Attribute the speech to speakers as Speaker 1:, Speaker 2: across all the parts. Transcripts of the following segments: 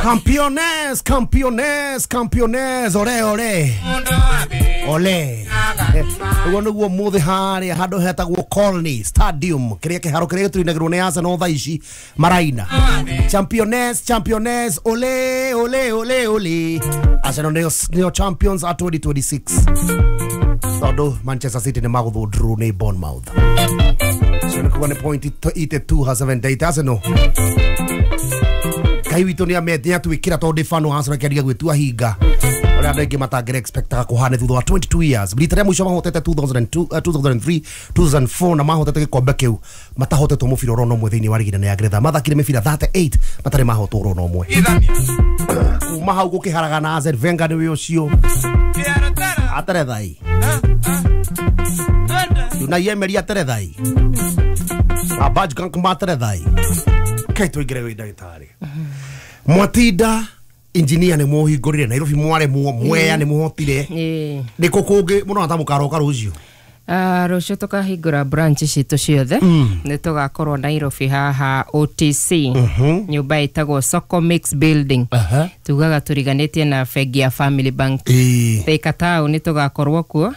Speaker 1: Campeones, campeones, campeones, ole ole. Ole. Uguo niguo muthi haria handu hetagwo Colney Stadium kiria kiharo kiria gituinagirwo ni Arsenal thaa ici maraina. Championes, championes, ole ole ole ole. Arsenal nio champions at 2026. Tondu Manchester City ni maguthwo draw ni Bournemouth. So ni kuga ni point 82 ha 78 Arsenal. Kai witũ nĩ amete atwĩkĩra tondũ ndĩ Arsenal kĩaria gwĩtua hinga ũrĩa andũ aingĩ matangĩra expectaga kũhane thutha wa 22 years. Rita rĩa mũico mahotete 2002, 2003, 2004 na mahotete gĩkombe kĩu matahotetwo mũbira oro ũmwe thĩinĩ wa rigi nene ya Ngeretha. Mathakire mĩbira 38 matarĩ mahotwo oro ũmwe. Kuma hau gũkĩharaga na Arsene Wenger nĩwe ũcio aterethai Unai Emery aterethai Abaj Gank materethai. Kai tũingĩre gwĩ ndagĩtarĩ Mwatinda engineer nĩ mũhingũrire Nairobi mware mwea nĩ mũhotire nĩ kũ kũngĩ mũno ta mũkaroka rũciũ?
Speaker 2: Rũciũ tũkahingũra branch citũ ciothe. Nĩ tũgakorwo Nairobi haha OTC, nyũmba ĩtagwo Soko Mix Building. Tugaga tũriganĩtie na bengi ya Family Bank. Thika Town nĩ tũgakorwo kuo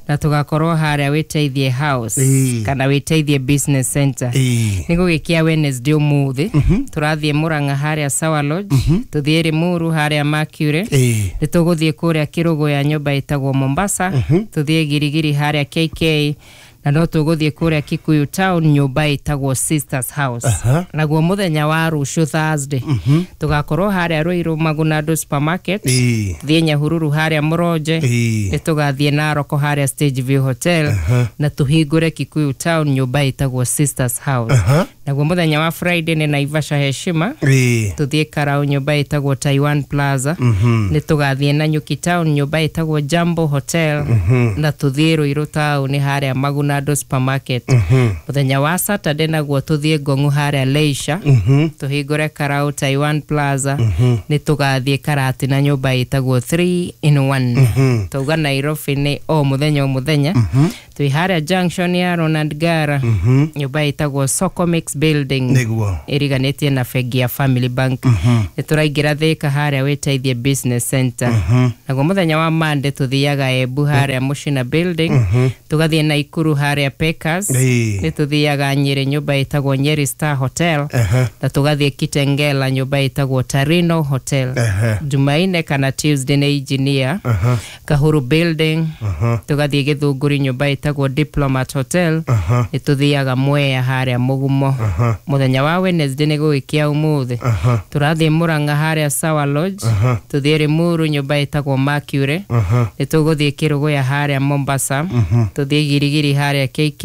Speaker 2: na tũgakorwo harĩa Wĩteithie House kana Wĩteithie Business Center. Nĩ gũgĩkia Wednesday ũmũthĩ tũrathiĩ Murang'a harĩa Sawa Lodge, tũthiĩ Limuru harĩa Mercury, nĩ tũgũthiĩ kũrĩa Kĩrũgũya nyũmba ĩtagwo Mombasa, tũthiĩ Girigiri harĩa KK, na no tũgũthiĩ kũrĩa Kikuyu Town nyũmba ĩtagwo Sisters House. Naguo mũthenya wa rũciũ Thursday tũgakorwo harĩa Ruiru Magunado Supermarket, tũthiĩ Nyahururu harĩa Mũronje, nĩ tũgathiĩ Naroko harĩa Stage View Hotel, na tũhingũre Kikuyu Town nyũmba ĩtagwo Sisters House. Naguo mũthenya wa Friday nĩ Naivasha Heshima, tũthiĩ Karau nyũmba ĩtagwo Taiwan Plaza, nĩ tũgathiĩ Nanyuki Town nyũmba ĩtagwo Jambo Hotel, na tũthiĩ Ruiru Town harĩa Magunado Supermarket. Mũthenya wa Saturday naguo tũthiĩ Ngong'u harĩa Leisure, tũhingũre Karau Taiwan Plaza, nĩ tũgathiĩ Karatina nyũmba ĩtagwo 3 in 1. Tauga Nairobi nĩ o mũthenya o mũthenya. Twĩ harĩa junction ya Ronald Gara, nyũmba ĩtagwo Soko Mix Building ĩriganĩtie na bengi ya Family Bank. Nĩ tũraingĩra Thika harĩa Wĩteithie Business Center. Naguo mũthenya wa Monday tũthiaga Embu harĩa Mushina Building, tũgathiĩ Naikuru harĩa Packers, nĩ tũthiaga Nyeri nyũmba ĩtagwo Nyeri Star Hotel, na tũgathiĩ Kitengela nyũmba ĩtagwo Tarino Hotel. Jumaine kana Tuesday nĩ Engineer Kahuru Building, tũgathiĩ Gĩthũngũri nyũmba ĩtagwo Diplomat Hotel, nĩ tũthiaga Mwea harĩa Mũgumo. Mũthenya wa Wednesday nĩ gũgĩkia ũmũthĩ tũrathiĩ Murang'a harĩa Sawa Lodge, tũthiĩ Limuru nyũmba ĩtagwo Mercury, nĩ tũgũthiĩ Kĩrũgũya harĩa Mombasa, tũthiĩ Girigiri harĩa KK,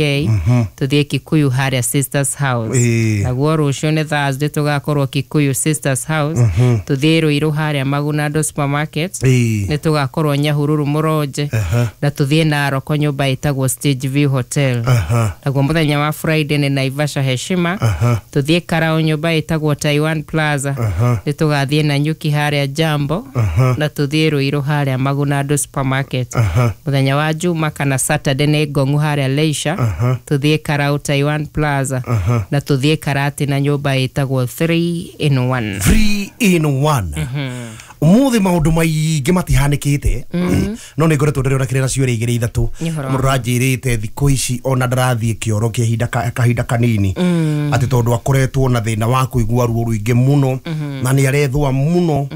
Speaker 2: tũthiĩ Kikuyu harĩa Sisters House. Naguo rũciũ nĩ Thursday tũgakorwo Kikuyu Sisters House, tũthiĩ Ruiru harĩa Magunado Supermarket, nĩ tũgakorwo Nyahururu Mũronje, na tũthiĩ Naroko nyũmba ĩtagwo Stage View Hotel. Naguo mũthenya wa Friday nĩ Naivasha Heshima, tũthiĩ Karau nyũmba ĩtagwo Taiwan Plaza, nĩ tũgathiĩ Nanyuki harĩa Jambo, na tũthiĩ Ruiru harĩa Magunado Supermarket. Mũthenya wa Juma kana Saturday nĩ Ngong'u harĩa Leisure, tũthiĩ Karau Taiwan Plaza, na tũthiĩ Karatina nyũmba ĩtagwo 3 in 1.
Speaker 1: 3 in 1. Umuthi maundu maingĩ matihanĩkĩte no nĩ ngoretwo ndĩrona kĩrĩra ciũria igĩrĩ ithatũ mũndũ aranjĩrĩte thikũ ici ona ndarathiĩ kĩoro kĩa kahinda kanini atĩ tondũ akoretwo na thĩna wa kũigua ruo rũingĩ mũno na nĩ arethũa mũno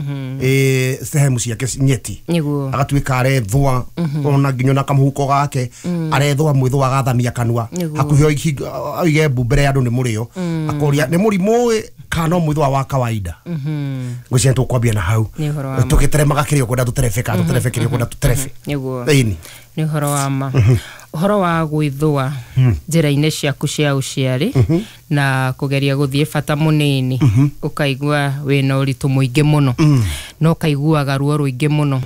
Speaker 1: sehemu ciake nyeti agatuĩka arethũa ona nginya na kamũhuko gake arethũa mwĩthũa agathamia kanua hakuhĩ oige mbu mbere ya andũ nĩ mũrĩo akoria nĩ mũrimũ kana no mwĩthũa wa kawaida. Ngwĩciria tũkwambia na hau tũgĩteremaga kĩrĩa ũkwenda tũterebe kana tũterebe kĩrĩa ũkwenda tũterebe. Nĩguo
Speaker 2: nĩ ũhoro wa ma. Ũhoro wa gwĩthũa njĩra-inĩ ciaku cia ũciari na kũgeria gũthiĩ bata mũnini ũkaigua wĩna ũritũ mũingĩ mũno Na ũkaiguaga ruo rũingĩ mũno,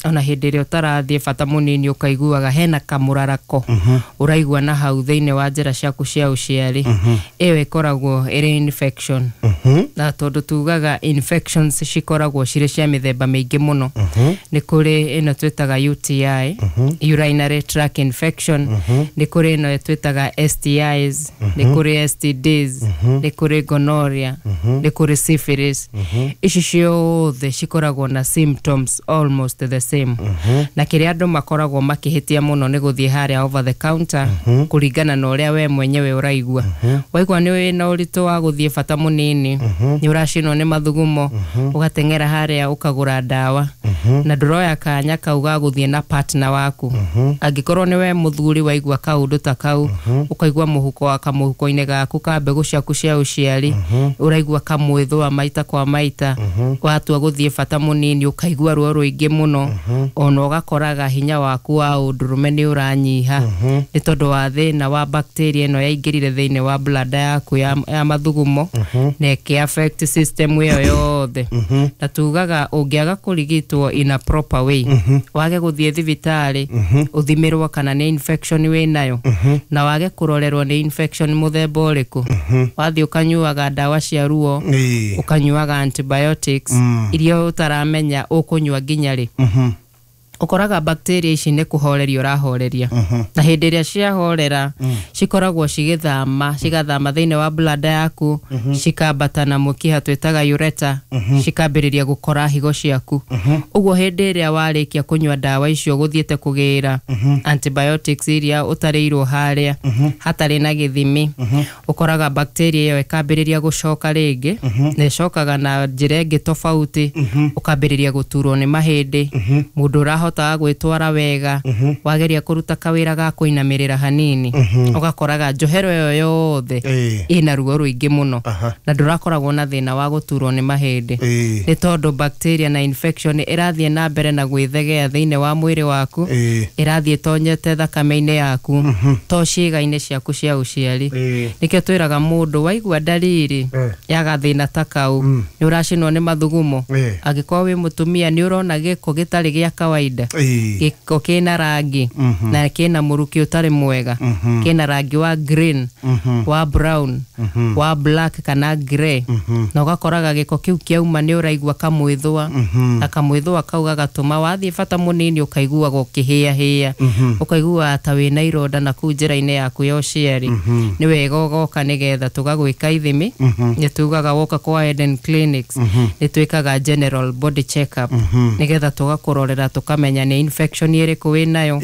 Speaker 2: ona hĩndĩ ĩrĩa ũtarathiĩ bata mũnini ũkaiguaga hena kamũrarako ũraigua na hau thĩinĩ wa njĩra ciaku cia ũciari. Ĩyo ĩkoragwo ĩrĩ infection. Na tondũ tugaga infections cikoragwo cirĩ cia mĩthemba mĩingĩ mũno, nĩ kũrĩ ĩno twĩtaga UTI, urinary tract infection, nĩ kũrĩ ĩno twĩtaga STIs, nĩ kũrĩ STDs, nĩ kũrĩ gonorrhea, nĩ kũrĩ syphilis. Ici ciothe cikoragwo na symptoms almost the same. Na kĩrĩa andũ makoragwo makĩhĩtia mũno nĩ gũthiĩ harĩa over the counter kũringana na ũrĩa we mwenyewe ũraigua. Waigua nĩ wĩna ũritũ wa gũthiĩ bata mũnini, nĩ ũracinwo nĩ mathugumo, ũgateng'era harĩa ũkagũra ndawa na ndũroya kanya kau ga gũthiĩ na partner waku. Angĩkorwo nĩ we mũthuri waigua kaũndũ ta kau, ũkaigua mũhuko wa kamũhuko-inĩ gaku ka mbegũ ciaku cia ũciari ũraigua kamwĩthũa maita kwa maita, watua gũthiĩ bata mũnini ũkaigua ruo rũingĩ mũno, ona ũgakoraga hinya waku wa ũndũrũme nĩ ũranyiha, nĩ tondũ wa thĩna wa bacteria ĩno yaingĩrire thĩinĩ wa bladder yaku ya mathugumo na ĩkĩ affect system ĩyo yothe. Na tugaga ũngĩaga kũrigitwo in a proper way, wage gũthiĩ thibitarĩ ũthimĩrwo kana nĩ infection wĩnayo, na wage kũrorerwo nĩ infection mũthemba ũrĩkũ, wathiĩ ũkanyuaga ndawa cia ruo, ũkanyuaga antibiotics iria ũtaramenya ũkũnyua nginya rĩ, ũkoraga bacteria ici nĩ kũhoreria ũrahoreria. Na hĩndĩ ĩrĩa ciahorera, cikoragwo cigĩthama, cigathama thĩinĩ wa bladder yaku, cikambata na mũkiha twĩtaga ureter, cikambĩrĩria gũkora higo ciaku. Ũguo hĩndĩ ĩrĩa warĩkia kũnyua ndawa icio, gũthiĩte kũgĩra antibiotics iria ũtarĩirwo harĩa hatarĩ na gĩthimi, ũkoraga bacteria ĩyo ĩkambĩrĩria gũcoka rĩngĩ, na ĩcokaga na njĩra ĩngĩ tofauti. Ũkambĩrĩria gũturwo nĩ mahĩndĩ, mũndũ ũrahotaga gwĩtwara wega, wageria kũruta kawĩra ga kũinamĩrĩra hanini, ũgakoraga njohero ĩyo yothe ĩna ruo rũingĩ mũno, na ndũrakoragwo na thĩna wa gũturwo nĩ mahĩndĩ, nĩ tondũ bacteria na infection ĩrathiĩ na mbere na gwĩthegea thĩinĩ wa mwĩrĩ waku, ĩrathiĩ ĩtonyete thakame-inĩ yaku, to ciĩga-inĩ ciaku cia ũciari. Nĩkĩo twĩraga mũndũ waigua ndariri ya gathĩna ta kau, nĩ ũracinwo nĩ mathugumo, angĩkorwo wĩ mũtumia nĩ ũrona gĩko gĩtarĩ gĩa kawaida, gĩko kĩna rangi na kĩna mũrukĩ ũtarĩ mwega, kĩna rangi wa green, wa brown, wa black kana grey, na ũgakoraga gĩko kĩu kĩauma nĩ ũraigua kamwĩthũa, na kamwĩthũa kau gagatũma wathiĩ bata mũnini ũkaiguaga ũkĩhĩahĩa, ũkaiguaga ta wĩna ironda na kũu njĩra-inĩ yaku ya ũciari, nĩ wega ũgoka nĩgetha tũgagwĩka ithimi. Nĩ tugaga woka kwa Eden Clinics nĩ twĩkaga general body check up nĩgetha tũgakũrorera, tũkamenya nĩ infection ĩrĩkũ wĩnayo.